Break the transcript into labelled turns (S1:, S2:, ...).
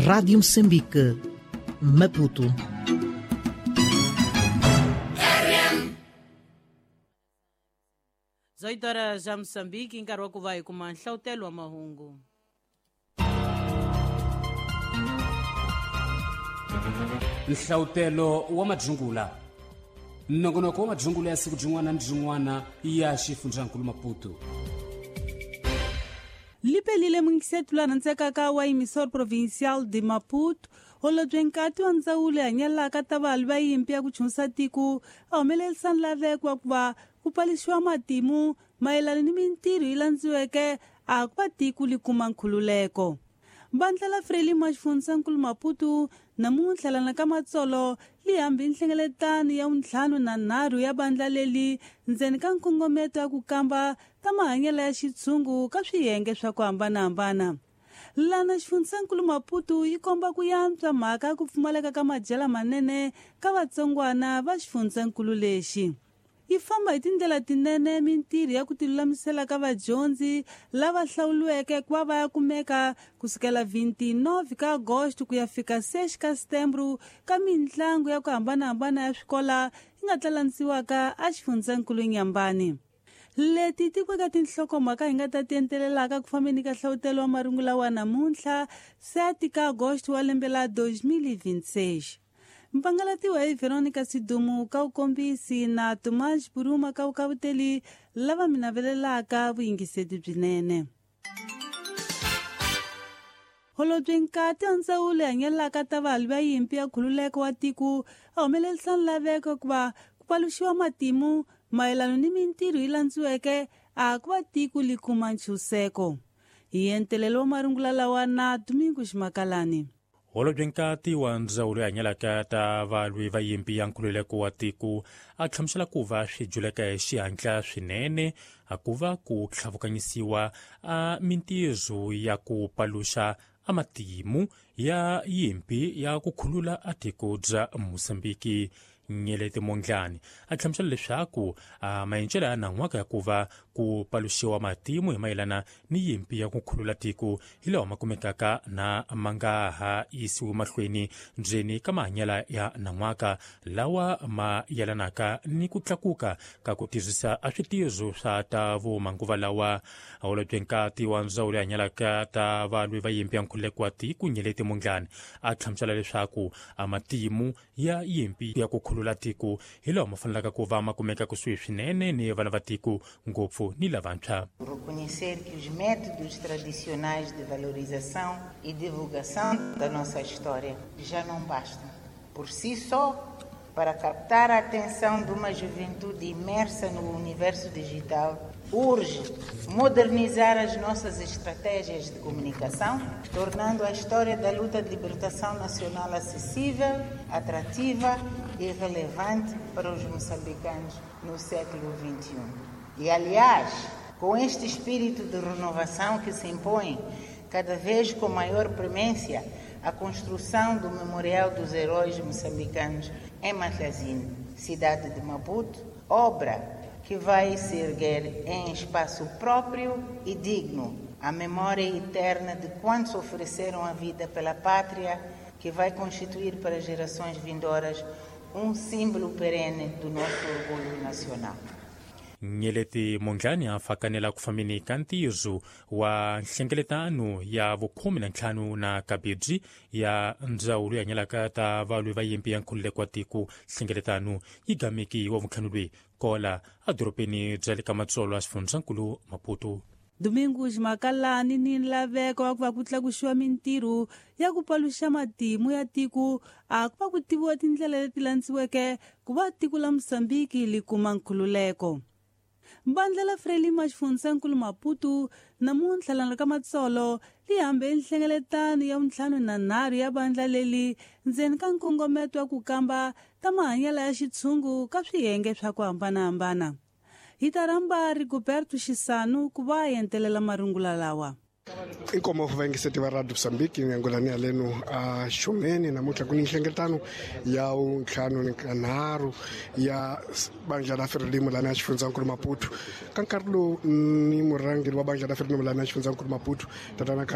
S1: Rádio Moçambique, Maputo.
S2: 18 horas já Moçambique, nkarhi wa ku va hi kuma nhlawutelo wa mahungu.
S3: Nhlawutelo wa madzungula. Nongonoko wa madzungula ya siku byin'wana ni byin'wana ya xifundzankulu Maputo.
S2: Lipelile mungisetulana ntsekaka wa emissor provincial de Maputo holobye nkati wa ndzawulo hanyelaka ta valwi va yimpi ya ku chunsa tiko a humelerisa nlaveko wa ku va ku palixiwa matimu mayelana ni mintirho yi landziweke a ku va tiko li kuma nkhululeko. Vandla la Frelimo xifundzankulu Maputo namuntlha lana ka Matsolo li hambi nhlengeletano ya 53 ya vandla leli ndzeni ka nkongometo ya ku kamba ta mahanyelo ya xitshungu ka swiyenge swa ku hambanahambana. Lana xifundzankulu Maputo yi komba ku yantswa mhaka ya ku pfumaleka ka madyela manene ka vatsongwana va xifundzankulu lexi. Yi famba hi tindlela tinene mintirho ya ku tilulamisela ka vadyondzi lava hlawuriweke ku va va ya kumeka kusukela 29 ka Agosto ku ya fika 6 ka Setembro ka mintlangu ya ku hambanahambana ya swikola yi nga tlalanisiwaka exifundzankulu Nyambani. Leti tikweka tinhlokomhaka hi nga ta ti entelelaka ku fambeni ka nhlawutelo wa marungula wa namuntlha 7 ka Agosto wa lembe la 2026. Mpangalatiwa hi Veronica Sidumu ka ukombisi na Tomás Buruma ka ukavuteli lava mi navelelaka vuyingiseti byinene. Holobye nkati wa ndzawulo hanyelaka ta valwi va yimpi ya nkhululeko wa tiko a humelerisa nlaveko ku va ku paluxiwa matimu mayelana ni mintirho yi landziweke a ku va tiko li kuma ntshunxeko. Hi entelelo wa marungula lawa na Domingo Ximakalani.
S4: Holobye nkati wa ndzawulo hanyelaka ta valwi va yimpi ya nkhululeko wa tiko a hlamusela ku va swi juleka hi xihatla swinene a ku va ku tlhavukanyisiwa a mintirho ya ku paluxa a matimu ya yimpi ya ku khulula a tiko bya Mozambiki. Nyeleti Mondlane a hlamusela leswaku maendlelo ya nan'waka ya ku va ku paluxiwa matimu hi mayelana ni yimpi ya ku khulula tiko hi lawa ma kumekaka na ma nga ha yisiwi mahlweni ndzeni ka mahanyelo ya nan'waka lawa ma yelanaka ni ku tlakuka ka ku tirhisa a switirho swa ta vumanguva lawa. Holobye nkati wa ndzawulo hanyelaka ta valwi va yimpi ya nkhululeko wa tiko Nyeleti Mondlane a hlamusela leswaku matimu ya yimpi ya ku khulula tiko hi lawa ma fanelaka ku va ma kumeka kusuhi swinene ni vana va tiko ngopfu ni lavantshwa.
S5: Reconhecer que os métodos tradicionais de valorização e divulgação da nossa história já não bastam por si só para captar a atenção de uma juventude imersa no universo digital. Urge modernizar as nossas estratégias de comunicação, tornando a história da luta de libertação nacional acessível, atrativa e relevante para os moçambicanos no século XXI. E, aliás, com este espírito de renovação que se impõe cada vez com maior premência a construção do Memorial dos Heróis Moçambicanos em Matlazine, cidade de Maputo, obra que vai se erguer em espaço próprio e digno, a memória eterna de quantos ofereceram a vida pela pátria, que vai constituir para gerações vindouras um símbolo perene do nosso orgulho nacional.
S4: Nyeleti Mondlane a fakanela ku fambeni ka ntirho wa nhlengeletano ya vu-15 na kabirhi ya ndzawulo hanyelaka ta valwi va yimpi ya nkhululeko wa tiko. Nhlengeletano yi gameki wa vuntlhanu lweyi kola edorobeni bya le ka Matsolo a xifundzankulu Maputo.
S2: Domingo Ximakalani ni nlaveko wa ku va ku tlakuxiwa mintirho ya ku paluxa matimu ya tiko a ku va ku tiviwa tindlela leti landziweke ku va tiko la Mozambiki li kuma nkhululeko. Vandla la Frelimo xifundzankulu Maputo namuntlha lana ka Matsolo li hambe nhlengeletano ya 53 ya vandla leli ndzeni ka nkongometo wa ku kamba ta mahanyelo ya xitshungu ka swiyenge swa ku hambanahambana. Hi ta rhamba Rigoberto Xisanu ku va entelela marungula lawa.
S6: Inkomo vayingiseti va Radio Mozambique ngangulani ya leno a xumeni namuntlha ku ni nhlengeletano ya 53 ya bandla la Frelimo lana ya xifundzankulu Maputo. Ka nkarhi lowu ni murhangeri wa bandla la Frelimo lana ya xifundzankulu Maputo tatana Carlos